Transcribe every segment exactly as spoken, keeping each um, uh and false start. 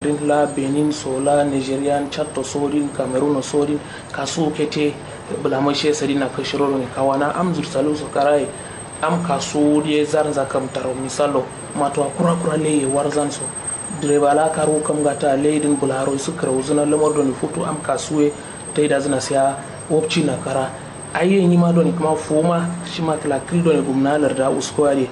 din la benin so la nigerian chatto sodin cameroon sodin kasu kete. Bulamashe sadin na kashiro doni kawana am zursalu so karaye. Am kasu diye zar zakam taro misalo matuwa kura kura leye warzan so. Direba la karu kam gata leye din bularo isu karauzuna lamar doni futu am kasuwe. Taida zina siya wopci na kara. Ai ye nyima doni kuma fuma shima kila kil doni gumna larda usko ade.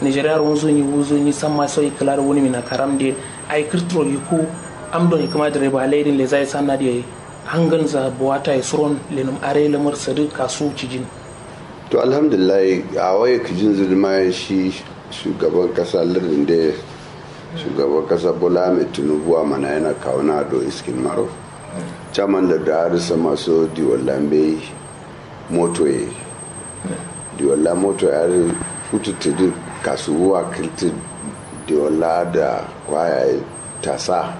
Nigeria ro wunzu nyi wunzu nyi samma so ikila ro wuni mina karam de. Ai kirtiro yiku am doni kuma direba laidin leza ya sanna de. Hangan za buwata ya suron lenum are lamar sadu kasu cijin. To alhamdulillah. A waye kijin zuduma shi shugaban kasa lardin de. Shugaban kasa bola mai tinubu a mana yana kawo na do iskin maro. Chairman da da arisa maso diwalla mbe moto ye. Diwalla moto ye ari futu tudu kasuwa kilti diwalla da kwaya ye tasa.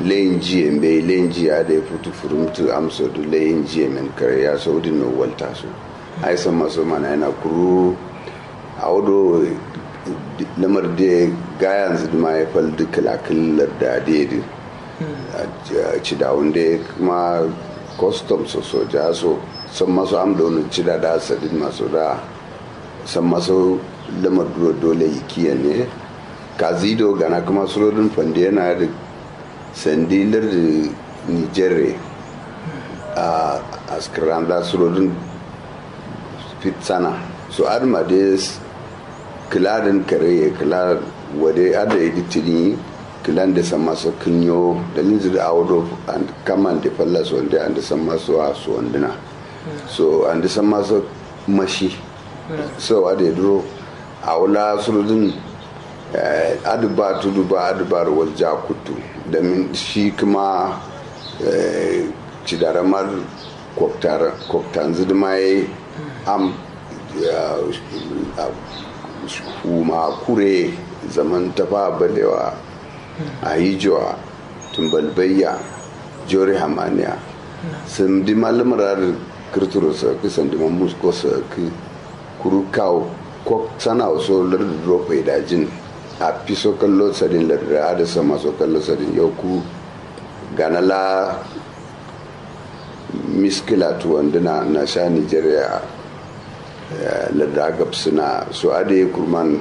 Lenji ye mbe lenji ya da futu furumtu amso du lenji ye men kare ya so udin no walta so. Ai sama so mana yana kuru. Awo do lamar de gayan ziduma ya fal duk kilakil larda de du. Cidawun de kuma custom so soja so san maso am da wani cida da sadin maso da san maso lamar duro dole ikiyan ne. Kazi do gana kuma surodin fande yana da sandi lardi nigerre. A askiranda surodin fitsana so adma de kiladin kare kila wade ada idi tini. Kilan de san maso kinyo dalin zidi awo do kaman de falla so wande ande san maso a so wandina. So ande san maso mashi. So ade duro awo la surodin. Adu ba tudu ba adu ba ro walja kuttu. Damin shi kuma cidaramar koktanzu duma ye am huma kure zaman tafa balewa. Ayijowa tumbalbayya jori hamaniya. Sandi mallamar adin kirturo saki sandi mamusko saki. Kuru kawo kok sana so lardu duro faidajin. A fiso kallo sadin lardu ada sama so kallo sadin yau ku gana la miskila tuwanduna na sha nigeria. Lardu agab suna so ada kurman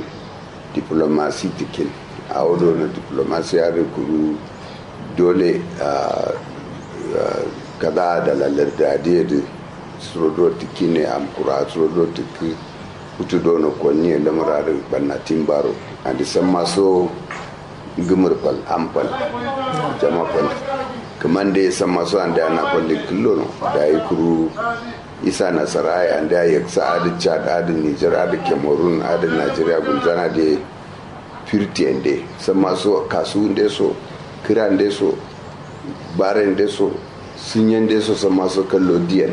diplomasi tikin. A wado na diplomasi ada kuru dole. Kada da lalar da diya da suro do tiki ne amkura suro do tiki. Kutu do na konni ya lamar ada banna timbaro andi san maso. Gumur fal am fal jama fal. Kaman da ya san maso andi ana fal da killo no da ya kuru isa nasara ya andi ya yaksa ada chad ada niger ada cameroon ada nigeria gulzana da. Firtiyen de samma so kasu nde so kira nde so bare nde so sinye nde so samma so kallo diyen.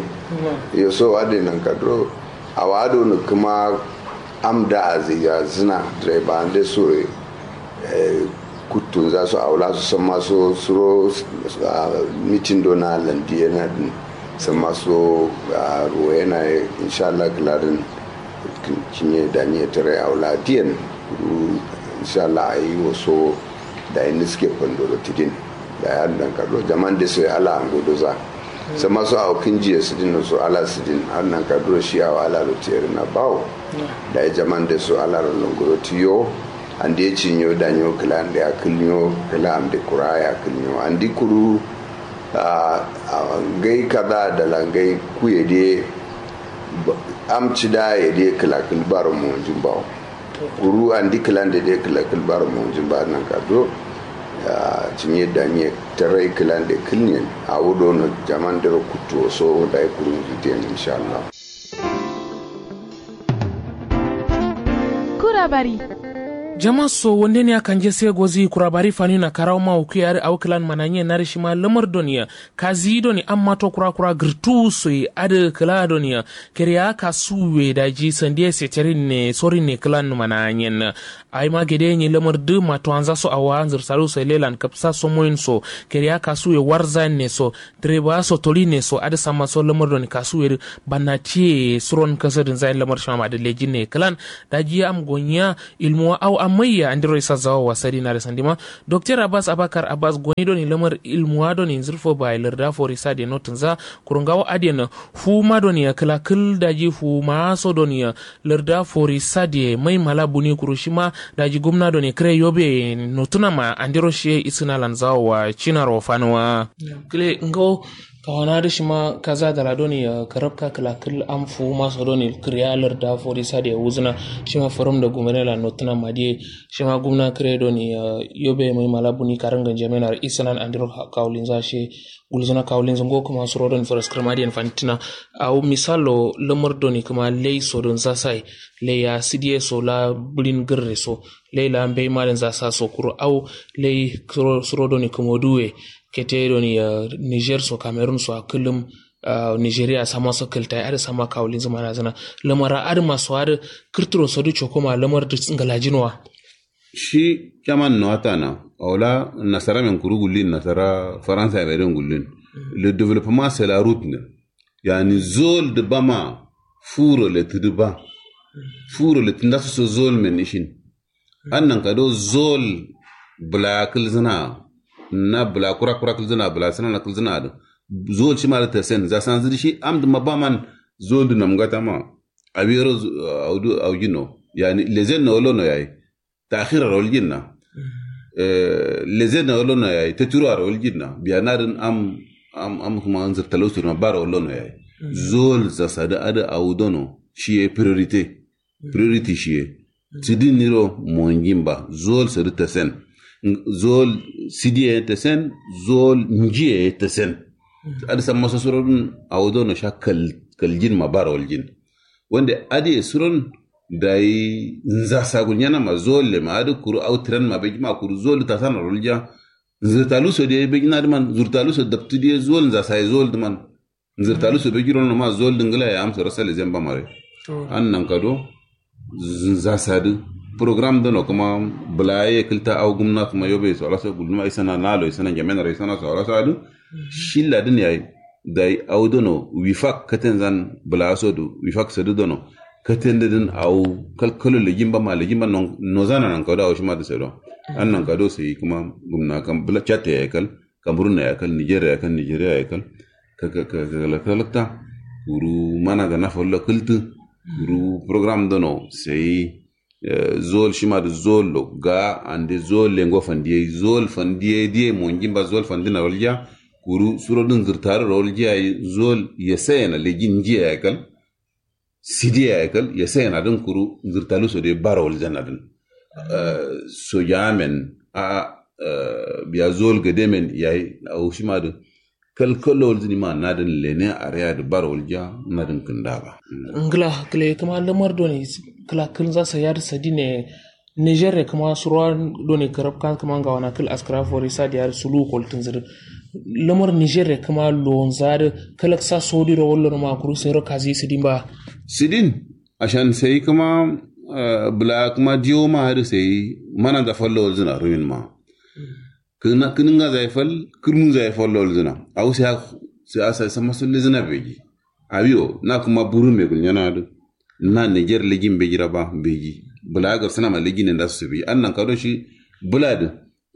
Yo so ade nanka duro awa ado no kuma am da aziya zina direba nde so. Kuttunza so awla so samma so suro mitin do na landi yana din samma so ruwa yana ye inshallah kladin. Cinye daniye tare awla diyen kuru inshallah ayi wo so. Dayi niske fandoro tidin dayi adin nanka duro jaman de so ye ala ango doza. Samma so awo kinji ye sidin no so ala sidin adin nanka duro shi awo ala ro tiyerina bawo. Dayi jaman de so ala ro nongoro tiyo. Ande cinyo danyo kla ande akilnyo kla amde kura ye akilnyo andi kuru. Ahh ngai kada dala ngai kuye de. Am cida ye de kla kil baro monjin bawo. Kuru andi kla nde de kla kil baro monjin bawo nanka duro. Ahh cinye danye tarai kla nde kilnyen awo dono jaman dero kuttu wo so dayi kuru nzu diyen inshallah. Kurabari. Jama so wonde ne akanje se gozi kurabari fani na karawo ma wuku yari awo klan mananye nari shima lamar doniya. Kazi doni amma to kura kura girtu so yi adi kla doniya. Keriya kasu we daji sandiye seterin ne sorin ne klan mananyen. Ayi ma gede nyi lamar du matuwanza so awa nzir salu so lelan kapsa so moyin so. Keriya kasu we warza ne so. Direba so toli ne so adi samma so lamar doni kasu we du. Banna tiye suron kasadin zayin lamar shima ma du lejin ne klan. Daji am gonya ilmuwa awo. Amma ya andiro isa zawo wa sadi na da sandima. Doktor abbas abakar abbas goni doni lamar ilmuwa doni zurfo ba larda fori sadi no tunza. Kurungawo adiyan fuma doni ya kala kul daji fuma so doni ya larda fori sadi mai mala buni kuru shima daji gumna doni kre yobe notuna ma andiro shi isina lan zawo wa cinaro fanuwa. Kle ngawo kawana da shima kaza da la doni ya karabka kala kul am fuma so doni kriya larda fori sadi ya wuzuna. Shima forum da gumene la notuna ma diye. Shima gumna kre doni ya yobe mai mala buni karin ganjamena isinan andiro kawulin za shi. Gulzuna kawulinzu ngo kuma suro don faras kirma diyan fantina. Au misalo lamar doni kuma lei so don zasai. Lei ya sidiye so la bulin girre so lei la mbei malin zasa so kuro au lei suro doni kuma duwe kete doni ya niger so cameroon so a kullum. Nigeria sama so kiltai ada sama kawulinzu mana zana lamara ada maso ada kirtiro so du cokoma lamar da ngalajinowa. Shi caman no atana aula nasara men kuru gullin nasara faransa ya merin gullin. Le développement c'est la route ne. Yani zol de bama furo le tudu ba furo le tunda so zol men ishin. Annan kado zol bla kilzina na bla kura kura kilzina bla sana na kilzina do. Zol shi ma da tasen za san zidi shi am da mabaman zol de namgata ma awiro audu augino yani lezen na wolo no yayi. Takhira rawal jinna. Leze na wala no yayi ta tiro a rawal jinna biya na din am am am kuma anzir talau sirma ba rawal no yayi. Zol za sadi ada awudono shiye priorité. Priority shiye sidin niro mongin ba zol sadi tasen. Zol sidiye tasen zol njiye tasen. Ada samma sosoro din awudono sha kal kaljin ma ba rawal jin. Wande adiye suron dayi nzasa gulnyana ma zol le ma adi kuru au tiran ma begi ma kuru zol tasana rolja. Nzirtalu so de begi na diman nzirtalu so daptu de zol nzasa ye zol diman. Nzirtalu so begi ron ma zol dingila ya amsa rasa le zemba mare. An nan kado nzasa di program dono kuma bulaye kilta au gumna kuma yobe so rasa gulma isana nalo isana jamena isana so rasa di. Shilla din yayi. Dayi au dono wifak katen zan bla so du wifak sadu dono katen da din au kalkalo lejin ba ma lejin ba no zana nan kado au shima da sado. An nan kado sai kuma gumna kan bla chatte ya kal kamerun ya kal nigeria ya kal nigeria ya kal. Ka ka ka ka lakta kuru mana ga na fallo kultu kuru program dono sai. Zol shima da zol lo ga ande zol lengo fandiye zol fandiye diye monjin ba zol fandina rolja. Kuru suro din zirtari rolja zol ya sayana lejin jiya ya kal. Sidiya ya kal ya sayana din kuru zirtalu so de ba rolja na din. Soja men a biya zol gade men yayi au shima da kalkalo walzini ma nadin lene areya da bar walja nadin kinda ba. Ngla kle kuma lamar doni kla kil za sa yar sadine. Niger ne kuma surwa doni karab kan kuma ga wana kil askara fori sa da yar sulu koltin zir. Lamar niger ne kuma lonza da kalak sa sodi ro wallo ma kuru sai ro kazi sidin ba. Sidin ashan sai kuma bla kuma diyo ma da sai mana da fallo walzina rumin ma. Kǝnǝnga zaifal kǝrmunza zaifal lolzǝna. Awo sai asa samma sollezǝna beji. Awiyo na kǝma burun me gulnyana dǝ. Na niger lejin beji raba beji. Bǝla gabsǝna ma lejin nda soso beji annan kado shi. Bǝla dǝ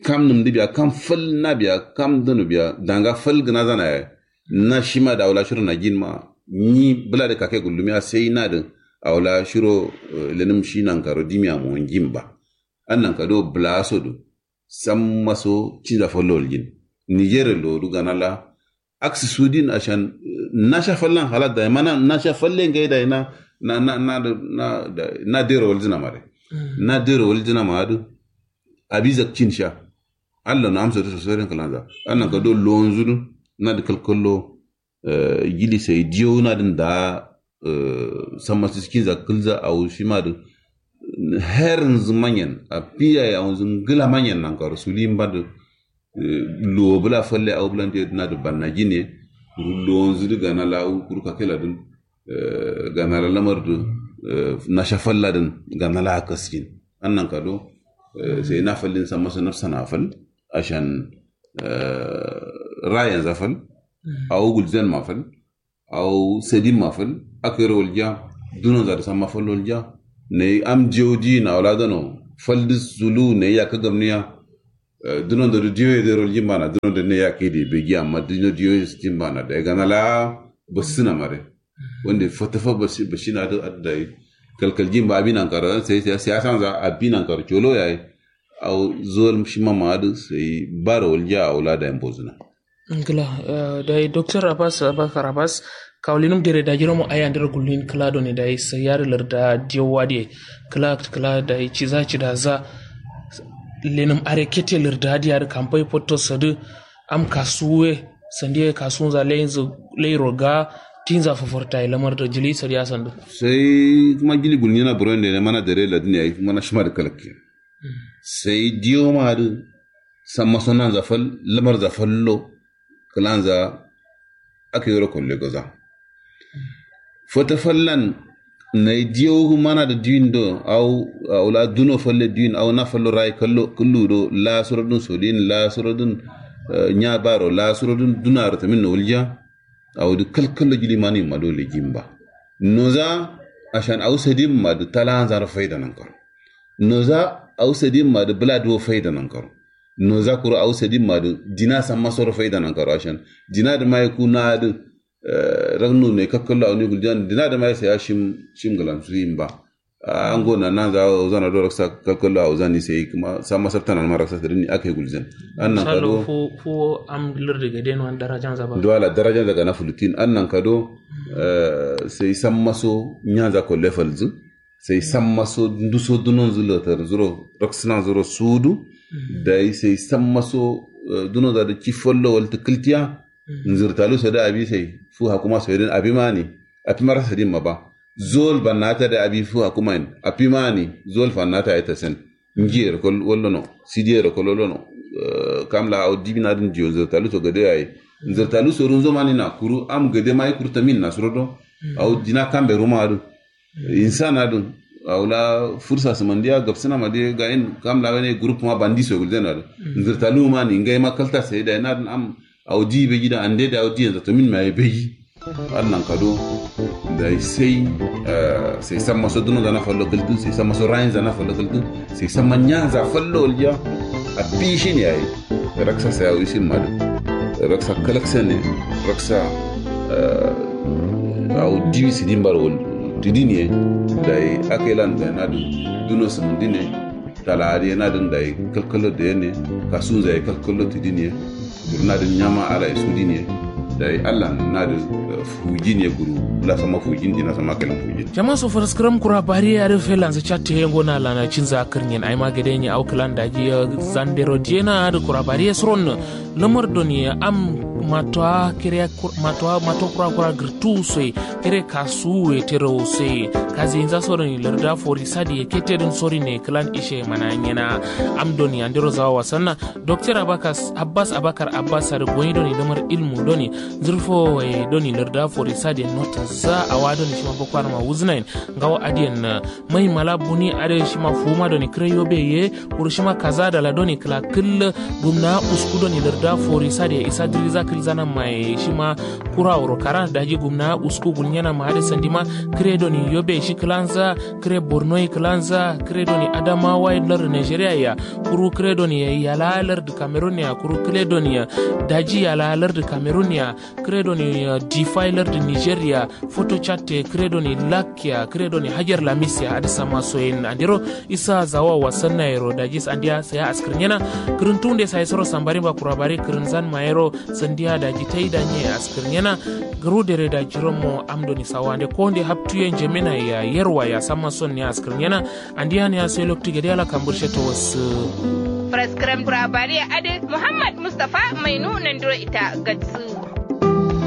kam nǝmdǝ biya kam fal na biya kam dǝnu biya danga fal gǝnazana yayi. Na shima da awla shiro najin ma. Nyi bǝla dǝ kake gullumiya sai na dǝ. Awla shiro lenǝm shi nankaro dimiya mowonjin ba. Annan kado bǝla so dǝ. Samma so cinza fallo waljin. Niger lodu gana la. Aksi sudin ashan nasha fallan halat da mana nasha falle ngai da na na na na na na dero waljina mare. Na dero waljina ma adu. Abi zakcin sha. Allah na amsa da sosoren kalanza annan ka do lonzu du. Na da kalkallo. Jili sai diyo na din da. Samma siskinza kǝlza awo shima dǝ. Herinzǝ manyen afiya ye awonzǝ ngǝla manyen nankaro suli mba dǝ. Luwo bǝla falle awo bǝla ndiye dǝ na dǝ banna jine. Kuru luwonzǝ dǝ gana la awo kuru kakela dǝn. Gana la lamar dǝ nasha falla dǝn gana la akasjin. Annan kado sai na fallin samma so nafsana fal. Ashan rayenza fal. Awo gulzen ma fal. Awo sadin ma fal. Akero walja. Dunonza dǝ samma fal walja. Nayi am diyo diyin awla dano. Fal dǝ sulu ne yakka gamniya. Dunondo dǝ diyo ye dero jimbana dunondo ne yakka ye dǝ begi amma duno diyo ye jimbana dai gana la. Basǝna mare wande fatafa bashina dǝ adda yi. Kalkal jimba abi nankaro sai siyasanza abi nankaro colo yayi. Au zol shima ma adǝ sai baro waljiya au la dai mbozǝna. Ngla. Dai doktor abbas abakar abbas kawulinum dere dajiro mo ai andero gullin kla done dai sai yar larda diyo wadiye. Kla kla dai ciza cidaza. Lenum are kete larda diya dǝ kampai potto sadǝ. Am kasuwe sandiye kasunza lainzu lairo ga tinza fafortaye lamar da jili sadiya sandu. Sai kuma jili gulnyana buron da mana dare ladin yayi kuma na shima da kalakke. Sai diyo ma da samma sonanza fal lamar za fallo. Kalanza aka yoro kolle goza. Fata fallan nai diyo mana da diwin do au au la duno falle diwin au na fallo rai kallo kullu do la suradun sodin la suradun. Nya baro la suradun dunaro tamin no wulja. Au du kalkallo jili mani ma dole jimba noza. Ashan au sadin ma du talanza ro faida nan karo. Noza au sadin ma du bla duwo faida nan karo. Noza kuru au sadin ma du dina samma soro faida nan karo ashan dina da mai ku na du. Ragnu ne kakkallo auni guljan dina da mai sai ya shim shim galan su yin ba. Ango na nan za zana do raksa kakkallo au zani sai kuma samma sabtana ma raksa sadin ni akai guljan. Annan kado fu fu am lirdi ga den wan darajan za ba duwala darajan daga na fulutin annan kado. Sai samma so nyanza ko lefalzu. Sai samma so nduso dunon zu lotar zuro raksina zuro sudu. Dai sai samma so dunon za da ci follo wal tukiltiya. Nzirtalu so da abi sai fu hakuma so din abi mani. Afi marasa din ma ba zol bannata da abi fu hakuma in afi mani. Zol fannata ya tasen. Njiyero kol wallono sidiyero kol wallono. Kamla au dibina din diyo nzirtalu so gade yayi. Nzirtalu so runzo mani na kuru am gade mai kuru tamin na surodo. Au dina kambe ruma adu. Insana dun aula fursa simandiya gabsina madiya gayin kam la wene group ma bandi so gulden adu. Nzirta luma ni ngai ma kalta sai da na dun am. Au di be gida ande da au di yanzu to min ma be gi. Annan kado da sai sai samma so duno zana fallo kaltu sai samma so rayin zana fallo kaltu. Sai samma nyanza fallo olja. A pishin yayi. Raksa sai au isin madu. Raksa kalaksa ne raksa. Awo diwi sidin bar wal tidin ye. Dayi akailan dayi nadin duno sumundin ye. Tala adiye nadin dayi kalkalo dayi ne. Kasunza ye kalkalo tidin ye. Kuru nadin nyama ala ye sudin ye. Dayi allan nadin fujin ye kuru. Lasama fujin dina sama kailan fujin. Jama so faraskaram kura bari ye adin felanza catte ye ngo na lana cinza akirnyen aima gade nye awo kalan daji ye. Zandero diye na adin kura bari ye suron. Lamar doni am matowa kere matowa mato kura kura girtu soyi. Kere kasu we tero soyi. Kazi inza so doni larda fori sadi ye kete din sori ne klan ishe mana nyena. Am doni andero zawa wasanna. Doktor abakas abbas abakar abbas sadi goyi doni lamar ilmu doni. Zurfo we doni larda fori sadi nota za awa doni shima boko harma wuznain. Ngawo adiyen. Mai mala buni adai shima fuma doni kre yobe ye. Kuru shima kaza dala doni kla kǝllǝ. Gumna usku doni larda fori sade isa diriza kǝlzana maye shima. Kura wuro kara daji gumna usku gulnyana ma adai sandima. Kre doni yobe shi klanza. Kre borno ye klanza kre doni adamawa ye larda nigeria ya. Kuru kre doni yala larda cameroon ya kuru kre doni ya. Daji yala larda cameroon ya. Kre doni difa ye larda nigeria. Foto chatte kre doni lak ya kre doni hajar lamis ya adǝ samma soyen andero. Isa zawa wasanna yero daji sandiya saya askǝrnyena. Kǝrǝntuwunde sayi soro sambarin ba kura bare kǝrǝnzan ma yero. Sandiya daji tayi danye askǝrnyena. Gǝru dere daji romo am doni sawande konde haptuye njemena ya yerwa ya samma sonne askǝrnyena. Andiya ne ya sai loktu gade ala kambǝrshe to wassǝ. Faraskǝram kura bare adǝ muhammad mustafa mainu nandiro ita gatsǝ.